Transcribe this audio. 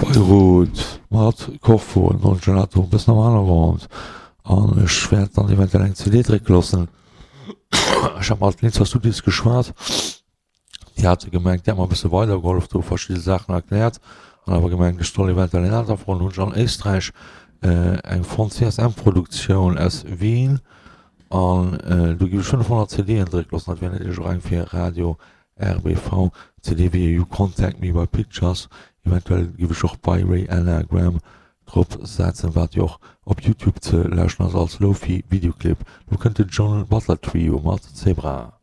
Beirut mat Korfu, Don Gelato e bëssen am Hannergrond an ech wäert dann eventuell eng CD drécke loossen. Ech hat mat Linzer Studios geschwat, déi hate gemengt, déi hat mer e bësse weidergehollef do verschidde Saachen erkläert an awer gemengt, ech soll eventuell eng aner froen. Hunn ech an Éisträich eng fonnt, CSM Produktioun aus Wien an do gi ech 500 CDen drécke loossen. Dat wär natierlech och eng fir Radio RBV, CD wéi You Contact Me by Pictures, eventuell giff ech och By Ray Anagram drop setzen, wat jo och op Youtube ze lauschten ass als Lofi Videoclip. Lo kënnt de John Butler Trio mat Zebra.